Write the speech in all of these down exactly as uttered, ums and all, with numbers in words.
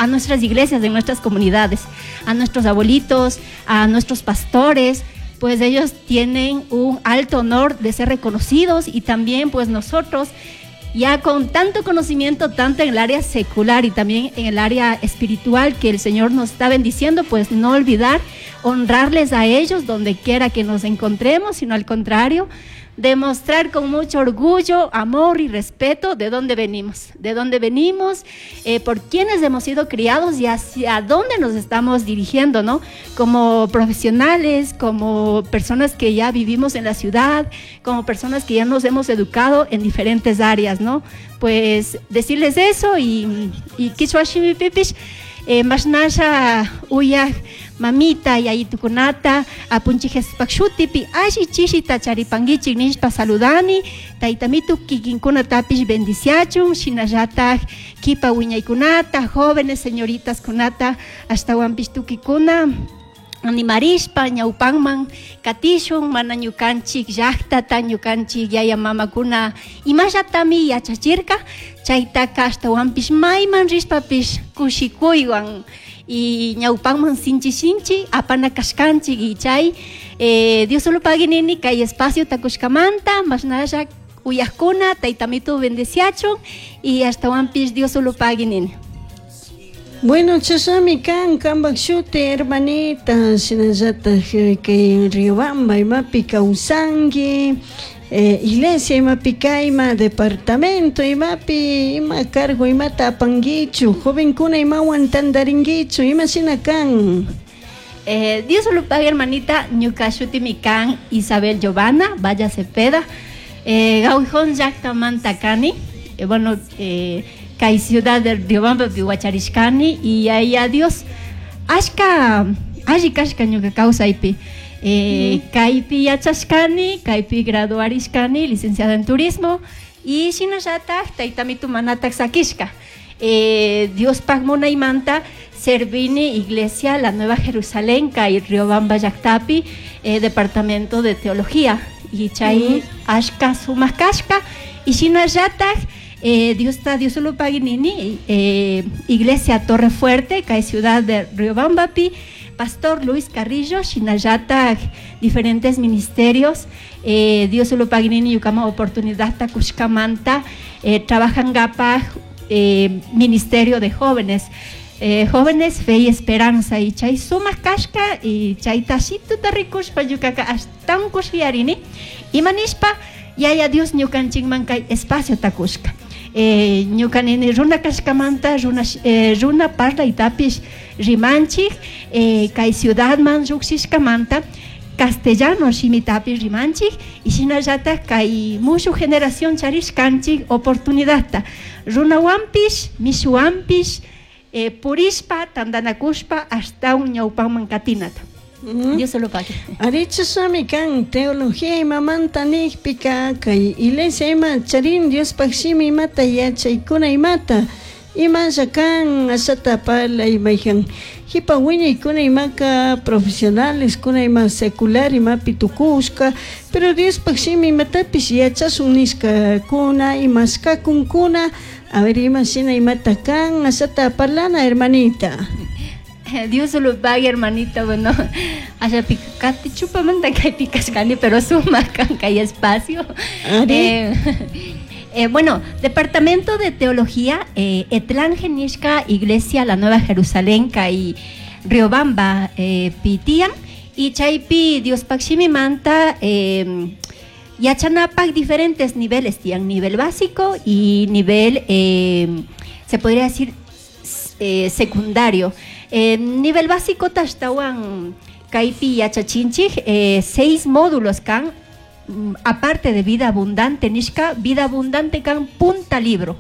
A nuestras iglesias, de nuestras comunidades, a nuestros abuelitos, a nuestros pastores, pues ellos tienen un alto honor de ser reconocidos y también, pues, nosotros ya con tanto conocimiento, tanto en el área secular y también en el área espiritual que el Señor nos está bendiciendo, pues no olvidar honrarles a ellos donde quiera que nos encontremos, sino al contrario, demostrar con mucho orgullo, amor y respeto de dónde venimos, de dónde venimos, eh, por quiénes hemos sido criados y hacia dónde nos estamos dirigiendo, ¿no? Como profesionales, como personas que ya vivimos en la ciudad, como personas que ya nos hemos educado en diferentes áreas, ¿no? Pues decirles eso y, y kichwa shimipipish, eh, mashnasha uyaj mamita yayitukunata apunchik Jesuspak shutipi alli chishita charipanguichik nishpa saludani. Taytamitu kikinkunatapish bendiciachun, shinallatak kipa wiñaykunata, jóvenes, señoritas kunata, ashtawanpish tukikuna animarishpa ñawpanman katishun. Mana ñukanchik llaktata, ñukanchik yaya mamakuna imallatami yachachirka chaytaka ashtawanpish mayman rishpapish kushikuywan y ñawpanman sinchi sinchi apana kashkanchik. Y chay eh, Dios solo pagui nini kay espacio takushkamanta. Mashnalla uyajkuna, taytamitu bendeciachun y ashtawanpish Dios solo pagui nini. Bueno, chashnami kan kanpak shuti, hermanita, shinallatak kay Riobamba imapi kawsanki, eh, iglesia imapi kayma, departamento imapi, ima cargo imata apankichu, jovenkuna imawan tantarinkichu, ima shina kan? Eh, Dios solo pague, hermanita, ñuka shutimi kan Isabel Giovanna Valla Cepeda, eh, Gaujon llaktamanta kani, eh, bueno, eh, kay ciudad de Riobamba wacharishkani y ahí a Dios ashka alli kashka ñuka kawsaypi. Eh, kaypi yachashkani, kaypi graduarishkani, licenciada en turismo, y shinallatak taytamitu manatak sakishka. Eh, Diospaj munaymanta servini Iglesia La Nueva Jerusalén, kay Riobamba llaktapi, eh, departamento de teología. Y chay ashka sumak kashka, y shinallatak eh, Dios está, Dios solo pagui nini, eh, Iglesia Torre Fuerte, kay ciudad de Riobambapi, Pastor Luis Carrillo, shinallatak diferentes ministerios, eh, Dios solo pagui nini ñukaman oportunidad takushkamanta, eh, trabajangapak eh, Ministerio de Jóvenes, eh, Jóvenes Fe y Esperanza, y chay sumak kashka, y chay tashituta rikushpa ñukaka ashtawan kushiyarini, imanishpa yaya Dios ñukanchikman kay espacio takushka. Eh, ñuka nini runa kashkamanta runa, eh, runa parlaytapish rimanchik, eh, kay ciudadman llukshishkamanta castellano shimitapish rimanchik y shinallatak kay mushuk generación charishkanchik oportunidadta runawanpish mishuwanpish eh, purishpa tantanakushpa ashtawan ñawpaman katinata. Mm. Dios se lo pague. Ari, chashnami kan teología imamanta nijpika kay iglesia ima charin Diospaj shimi imata yachaykuna imata imalla kan ashata parlay mayjan jipa wiñaykuna imaka profesionales kuna ima secular imapi tukushka, pero Diospaj shimi imatapish yachashun nishkakuna imashkakunkuna. A ver, ima shina imata kan ashata parlana, hermanita. Dios se lo pague, hermanita. Bueno, allá kati chupamanta kaypi kashkani, pero sumak kan kay espacio. Ari. Eh, eh, bueno, Departamento de Teología, eh, Etlán Genishka, Iglesia La Nueva Jerusalén, kay Riobamba, eh, Pitian, y chaypi Diospaj shimimanta, eh, yachanapak diferentes niveles, tian nivel básico y nivel, eh, se podría decir, eh, secundario. Eh, nivel básico ashtawan kaypi yachachinchik, eh, seis módulos kan, mm, aparte de vida abundante nishka, vida abundante kan punta libro.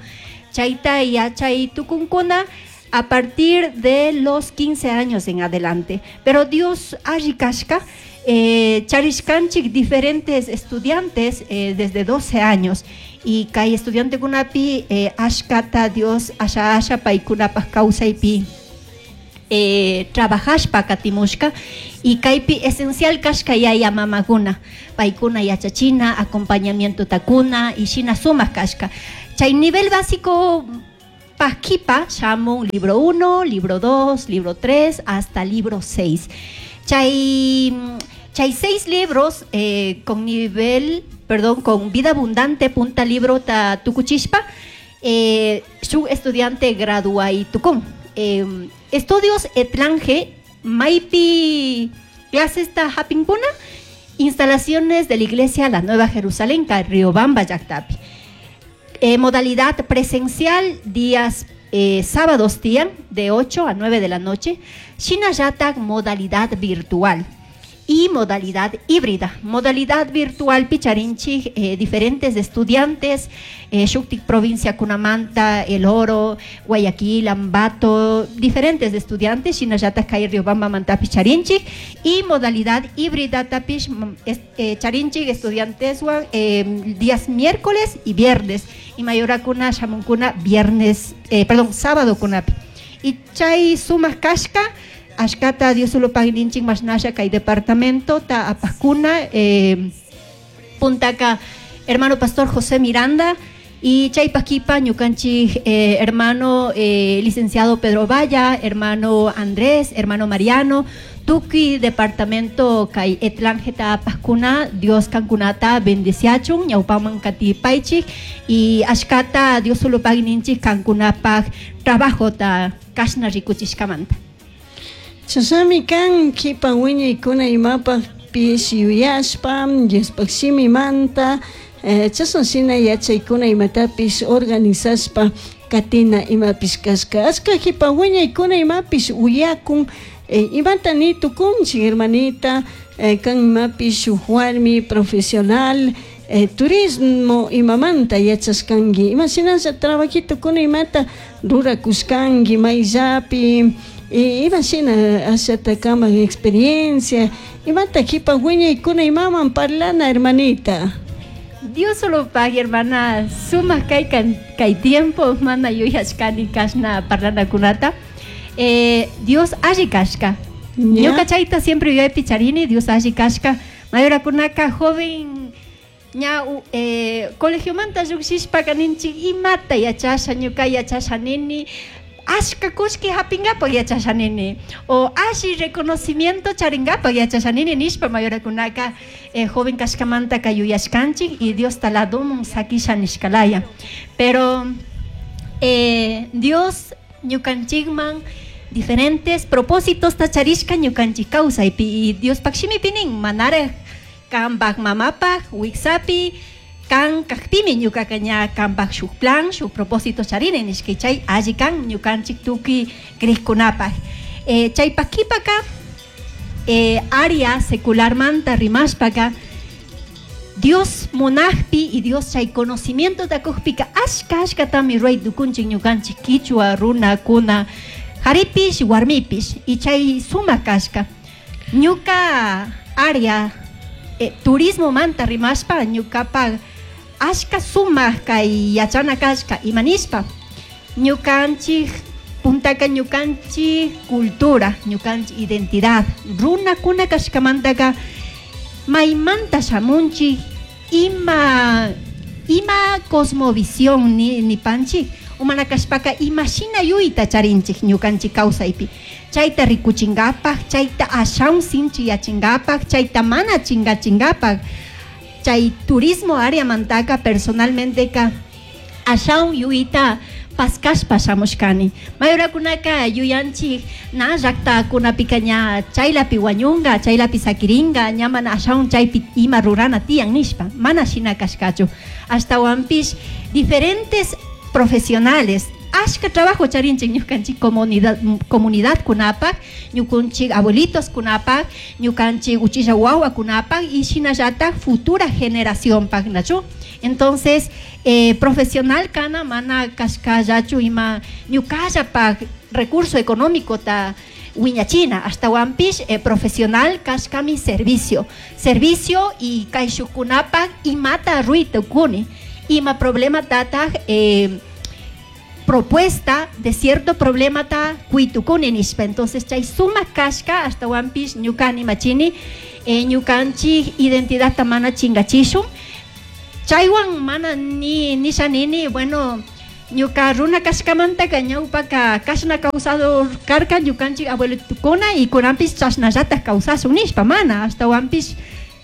Chayta yachay tukunkuna a partir de los quince años en adelante. Pero Dios alli kashka, eh, charishkanchik diferentes estudiantes eh, desde doce años. Y kay estudiante kunapi eh, ashkata Dios asha asha paykunapaj kawsaypi eh, trabajashpa katimushka y kaypi esencial kashka yaya mamakuna paykuna yachachina acompañamiento takuna y shina sumak kashka. Chay nivel básico Chaypa shamun libro uno, libro dos, libro tres, hasta libro seis. Chay, chay seis libros eh, con nivel, perdón, con vida abundante punta libro ta tukuchishpa, eh, shuk estudiante graduai tukun. Eh, estudios Etlange, maipi clases ta hapinkuna, instalaciones de la iglesia La Nueva Jerusalén, Riobamba, llaktapi. Eh, modalidad presencial, días eh, sábados tiyan, de ocho a nueve de la noche. Shinallatak, modalidad virtual y modalidad híbrida. Modalidad virtual picharinchi, eh, diferentes estudiantes, eh, shuktik provincia kunamanta, El Oro, Guayaquil, Ambato, diferentes estudiantes, shinallatak kay Riobamba mantapish charinchi, y modalidad híbrida tapish, mm, es, eh, charinchi estudiantes eh, días miércoles y viernes, y mayorakuna shamunkuna viernes, eh, perdón, sábado kunapi. Y chay sumak kashka, ashkata Dios solo pagninchik mashnasha kay departamento ta apakuna, eh, puntaka hermano pastor José Miranda y chay paquipa ñukanchik, eh, hermano, eh, licenciado Pedro Valla, hermano Andrés, hermano Mariano, tuki departamento kay Etlangeta apakuna, Dios kankunata bendeciachun, ñawpaman katipaychik y ashkata Dios solo pagninchik kankunapaj trabajo ta kashna rikuchishkamanta. Chasami kan kipa wiñaykuna imapaj pish yuyashpa, Diospaj shimimanta, eh, chashan shina yachaykuna imatapish organizashpa katina imapish kashka. Ashka kipa wiñaykuna imapish uyakun, eh, imata ni tukunchik hermanita, eh, kan imapish shuk warmi profesional, eh, turismo imamanta yachashkanki, imashinalla trabajito kuna imata rurakushkanki mayllapi, y ima shina ashata kamak experiencia, imata kipa wiñaykuna imaman parlana hermanita. Dios solo pague, hermana, suma kay kan, kay tiempo, mana yuyashkani kashna parlana kunata. Eh, Dios alli kashka. Ya. Ñuka chayta siempre yuyaypi charini, Dios alli kashka. Mayorakunaka joven ña, u, eh, colegiomanta lluqshishpa kaninchik imata yachasha, ñuka yachasha nini, ashka kushki hapingapak yachasha nini, o alli reconocimiento charingapak yachasha nini nishpa mayorakunaka, eh, joven kashkamantaka yuyashkanchik y Dios taladumun sakisha nishkalaya. Pero, eh, Dios ñukanchikman diferentes propósitos tacharishka ñukanchik kawsaypi y Dios pakshimipi nin manaraj kanpak mamapak wiksapi kan kakpimi ñukaka ña kanpak shuk plan, shuk propósito charini nishka chay alli kan ñukanchik tukuy krikkunapaj. Eh, chaypak kipaka, eh, área secularmanta rimashpaka Dios munajpi y Dios chay conocimiento takujpika ashka ashkatami ruay tukunchik ñukanchik kichwa runa kuna jaripish warmipish y chay sumak kashka. Ñuka área, eh, turismo manta rimashpa ñukapa ashka sumak kay yachana kashka imanishpa ñukanchik puntaka ñukanchik cultura, ñukanchik identidad runa kuna kashkamantaka maymanta shamunchik ima, ima cosmovisión ni, ni panchik umana kashpaka ima shina yuyta charinchik ñukanchik kawsaypi chayta rikuchinkapak chayta ashawn sinchiyachinkapak chayta mana chinkachinkapak chay turismo área mantaka personalmente ka ashawn yuyta paskashpa shamushkani mayorakunaka yuyanchik na llaktakunapika ña chaylapi wañunka chaylapi sakirinka ña mana ashawn chaypi ima rurana tiyan nishpa mana shina kashkachu ashtawanpish diferentes profesionales ashka trabajo charinchik ñukanchik comunidad, comunidad kunapak ñukanchik abuelitos kunapak ñukanchik uchilla wawa kunapak y shinallatak futura generación pak nachu. Entonces, eh, profesional kana mana kashkallachu ima ñukallapak recurso económico ta wiñachina ashtawanpish, eh, profesional kashkami servicio servicio y kayshukunapak imata ruy tukuni ima problema tataj, eh, propuesta de cierto problema ta kuitukuni nishpa. Entonces chay suma kashka ashtawanpish ñukani machini, eh, ñukanchik identidad ta mana chingachishun chaywan mana ni nisha nini bueno Ñuka runa kashkamantaka ñawpaka kashna kawsador karka ñukanchik abuelitukuna y kunanpish chashnallatak kawsashun nishpa mana ashtawanpish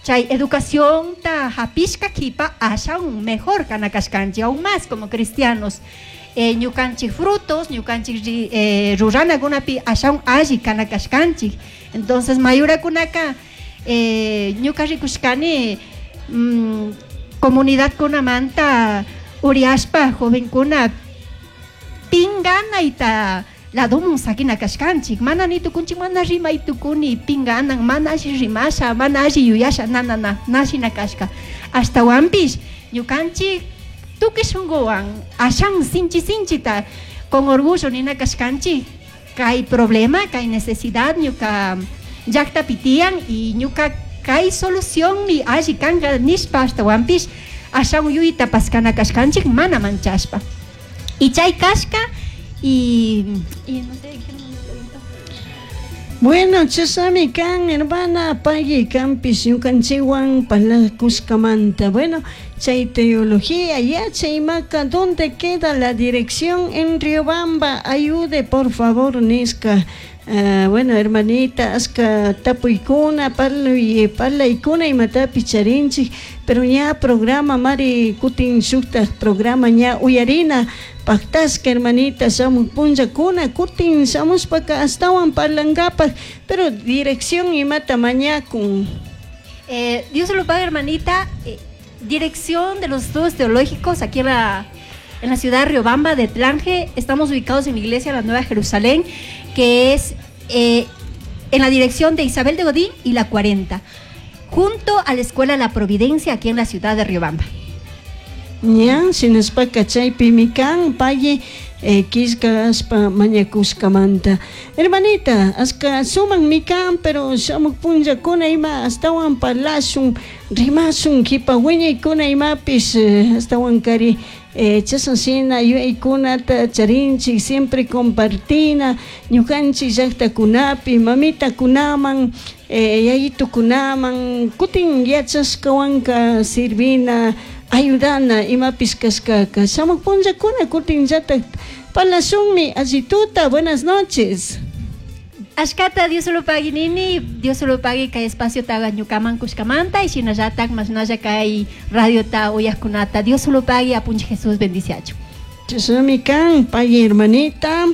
chay educacionta hapishka kipa ashawan mejor kana kashkanchik aún más como cristianos. Eh, ñukanchik frutos, ñukanchik eh, ruranakunapi ashawan alli kana kashkanchik. Entonces mayurakunaka eh, ñuka rikushkani mm, comunidad kunamanta uriashpa jovenkuna pinganayta ladomun sakina kashkanchik mana ni tukunchik mana rimay tukuni pinganan mana alli rimasha mana alli yuyasha na na na na shina kashka ashtawanpish ñukanchik tukuy shunkuwan ashan sinchi sinchita con orgullo nina kashkanchik kay problema kay necesidad ñuka llaktapi tiyan y ñuka kay solución mi alli kanka nishpa ashtawanpish ashan yuyta paskana kashkanchik mana manchashpa y chay kashka y, y no sé qué me preguntó. Bueno, chasami kan hermana pagui kanpish ñukanchikwan parlakushkamanta. Bueno, chay teología yachay imaka, ¿dónde queda la dirección en Riobamba? Ayude por favor nishka. Uh, bueno, hermanita, aska tapuykuna, parluy, parlaykuna imatapi charinchik, pero ña programa mari kutin shuktak programa ña uyarina pactasca hermanita shamuj punllakuna kutin shamushpaka astawan parlankapaj, pero dirección imata mañakun. Eh, Dios lo pague, hermanita. Eh, dirección de los estudios teológicos aquí en la, en la ciudad de Riobamba de Tlange. Estamos ubicados en la iglesia de la Nueva Jerusalén, que es eh, en la dirección de Isabel de Godín y la cuarenta, junto a la Escuela La Providencia aquí en la ciudad de Riobamba. Ña, shinashpaka chaypimi kan pagui eh, killka ashpa mañakushkamanta. Hermanita, ashka sumakmi kan, pero shamuj punllakuna ima astawan parlashun, rimashun, kipa wiñaykuna imapish eh, astawan kari eh, chashna shina yuyaykunata charinchik, siempre compartina ñukanchik llaktakunapi, mamitakunaman, eh, yayitukunaman, kutin yachashkawanka sirvina, ayudana imapish kashkaka. Shamuj punllakuna kutinllatak parlashunmi. Allituta, buenas noches. Ashkata Dios lo pague nini, Dios lo pague kay espacio taga ñukaman kushkamanta y shinallatak mashnalla kay radio ta uyajkunata. Dios lo pague apunchi Jesús bendiciacho. Chashnami kan, pagui hermanita.